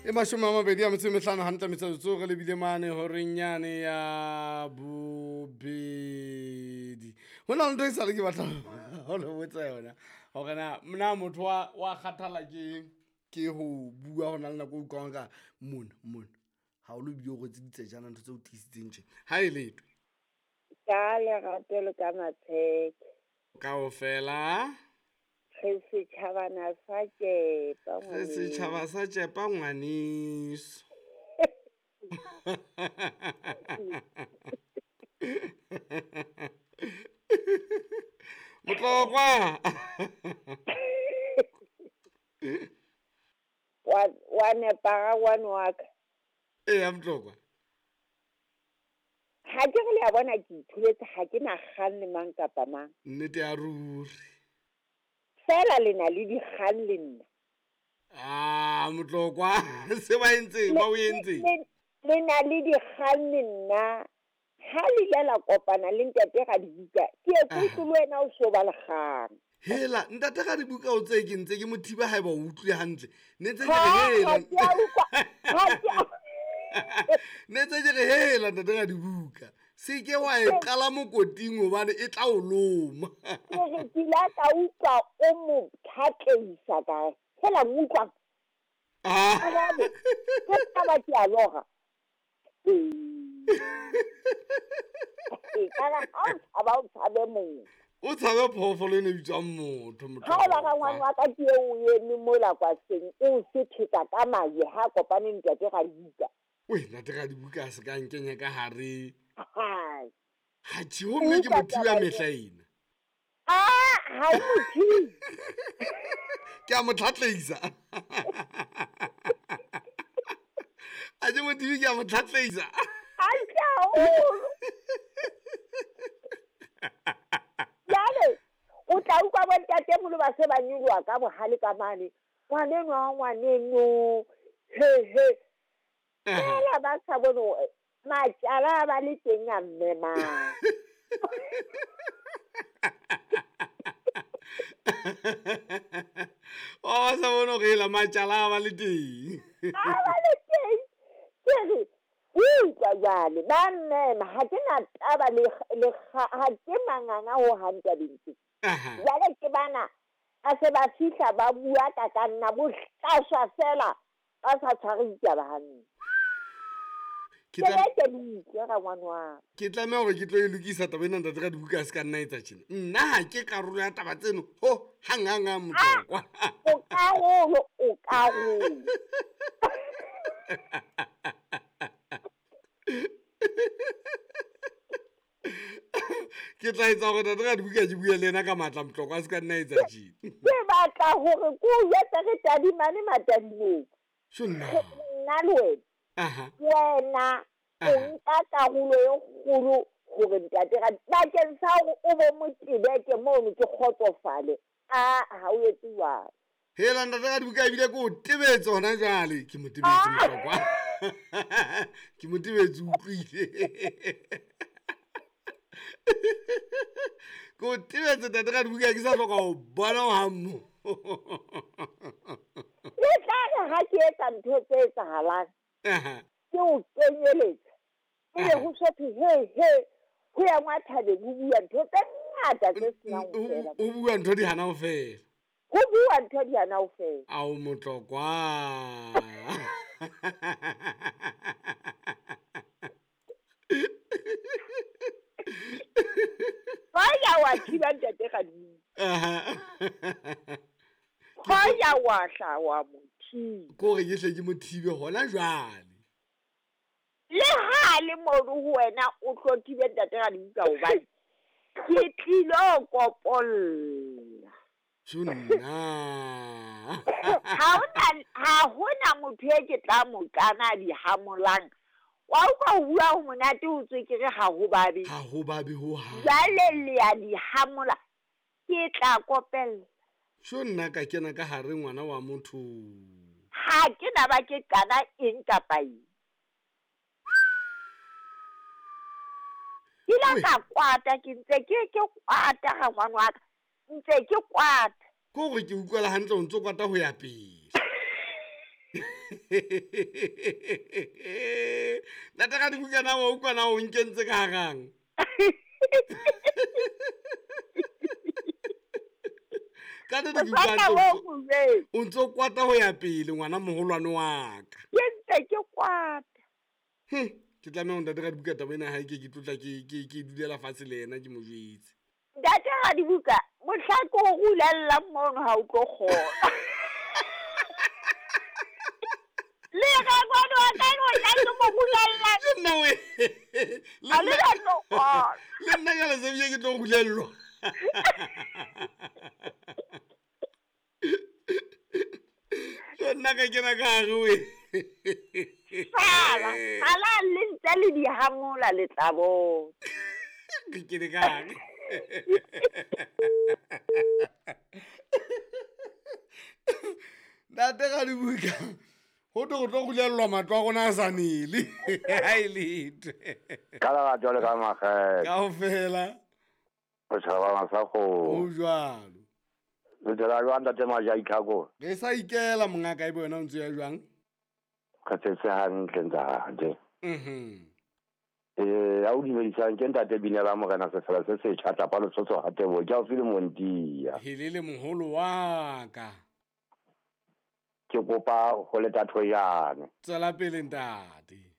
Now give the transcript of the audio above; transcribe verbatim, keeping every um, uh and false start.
E mashome a mabedi a metso e mehlano hantle metsotso re lebile mane horeng yane ya bobedi. Ho na le ntho e sale ke batla ho le botsa yona hore na na motho wa wa kgathala ke ke ho bua ho na le nako e utlwang ka mona mona ha o lo bile o rwetse ditsejana ntho tse o tiisitseng tje ha e letho. Ka lerato le ka matsheke. Kaofela Re setjhabana sa tjepa re setjhaba sa tjepa ngwaneso. Motlokwa. Wa wa nepa rangwane wa ka. Eya Motlokwa. Ha ke re le a bona ke ithuletse ha ke na kgang le mang kapa mang. Nnete ya ruri. Fela le na le dikgang le nna. Ah, Motlokwa, se ba entseng, ba o entseng? Le le na le dikgang le nna. Ha le ile la kopana le ntate Radibuka, ke e kutlwe le wena o so ba le kgang. Hela, ntate Radibuka o tse ke ntse ke mo thiba haeba o utlwile hantle. Ne ntse ke re Ha, hela. ha ke a utlwa, ha ke a Ne ntse ke re hela ntate Radibuka. Se ke wa e qala mokoting hobane e tla o loma. Ke re ke ile ka utlwa o mo tlhatleisa ka re, hela mo utlwang. Ah. Arabe, ke taba ke a lora. Ee. Ee, ka re ha o tshaba o tshabe motho. O tshabe phoofolo ena e bitswang motho, Ha o ba rangwane Motlokwa. wa ka ke eo o eme mola kwaseng, o sethetsa ka majwe ha kopane le ntate Radibuka. Weh, ntate Radibuka a se ka nkenya ka hare. Hai. Ha tjhe, ho mme ke Utlwa mo thiba taba mehla ena. ena. Ah, ha o mo thibe. Ke a mo tlhatleisa. A ke mo thibe, ke a mo tlhatleisa. Hantle haholo. Jwale o tla utlwa bo ntatemoholo ba se ba nyoloha ka bohale ka mane. Ngwaneno wa ngwaneno. He he. Fela ba sa bone hore matjala a ba le teng a mmemang. O ba sa bone hore hela matjala a ba le teng. A ba le teng. Ke re, utlwa jwale ba mmema ha ke na taba le le ha ke manganga ho hang tabeng tse. Aha. Jwale ke bana a se ba fihla ba bua ka ka nna bohlaswa fela ba sa tshware ditaba hantle. Ke Ke tla be ke le utlwe rangwane wa ka. Ke tlameha hore ke tlo e lokisa taba ena ntate Radibuka a se ka nna etsa tjena. Nna ha ke karolo ya taba tseno ho hang hang hang Motlokwa. O karolo, o karolo. Ke tla etsa hore ntate Radibuka ke bue le yena ka matla Motlokwa a se ka nna etsa tjena. Ke batla hore ke o jwetse re tadimane matadimong. Tjho nna. Nna le wena. Aha. Wena o Aha. nka karolo e kgolo hore ntate Radi bakeng sa hore o bo motebeke mono ke kgotsofale. Ah, ha o etse jwalo. Hela ntate Radibuka ebile ke o tebetse hona jwale. Ke mo tebetse Motlokwa. Ke mo tebetse o utlwile. Ke o tebetse ntate Radibuka ke sa hloka ho bona ho hang mo. Le tla re ha ke etsa ntho tse etsahalang. Aha. Ke o kenyeletsa. Ebe Aha. ho so thwe he he ho ya ngwa thabeng ho bua ntho tse ngata tse senang ho fela. O bua ntho di hana ho fela. Ho bua ntho di hana ho fela. Ao Motlokwa. Hoya wa thiba ntate Radibuka. Aha. Hoya wa hla wa mo thiba. Ke hore ke hle ke mo thibe hona jwale. Le ha le mono ho wena o tlo thibe ntate Radibuka hobane ke tlilo kopolla. Tjho nna. Ha hona, ha hona motho e ke tla mo kana di hamolang. Wa utlwa ho bua ho monate ho tswekere ha ho babe. Ha ho babe ho hang. Jwale le ya di hamola. Ke tla kopella. Tjho nna ka kena ka hare ngwana wa motho. Ha ke na ba ke qala eng kapa eng. Ke la ka kwata ke ntse ke ke kwata ga ngwana wa ka. Ntse ke kwata. Ke hore ke utlwela hantle o ntso kwata ho ya pele. Ntate ga dibuka na wa utlwa na o nkentse ka harang. Ka nnete ke utlwa o ntso kwata ho ya pele ngwana moholwane wa ka. Ke ntse ke kwata. Hm, ke tlameha ho ntate ga dibuka taba ena hae ke ke tlotla ke ke ke dulela fatshe le yena ke mo jwetse. Ntate ga dibuka mohla ke o rulellang mono ha o tlo kgona. Le ga ngwana wa ka o tla ke mo rulellang. Le nna we. Ha le ka tlo kgona. Le nna ka lesebje ke tlo rulellwa. Ke nna ka kena ka hare we. Sala, sala le ntse le di hamola le tla bona. Ke kene ka hare. Ntate ga dibuka ho tlo go tlo rulellwa matlo a rona a sa nele. Ha e letho. Ka lerato le ka makgethe. Kaofela. O tshaba masakgo. Ho jwalo. Le tsela jwang ntate Maja Itlhako? Re sa ikela mongaka ebe wena o ntse ya jwang? Re tsetse hantle ntate. Mhm. Eh, a o dumedisang ke ntate Binela Morena Sefela se setjha tapa Lesotho ha Tebo ke haufi le Montia. Helele moholo wa ka. Ke kopa ho leta thoyane. Tswela pele ntate.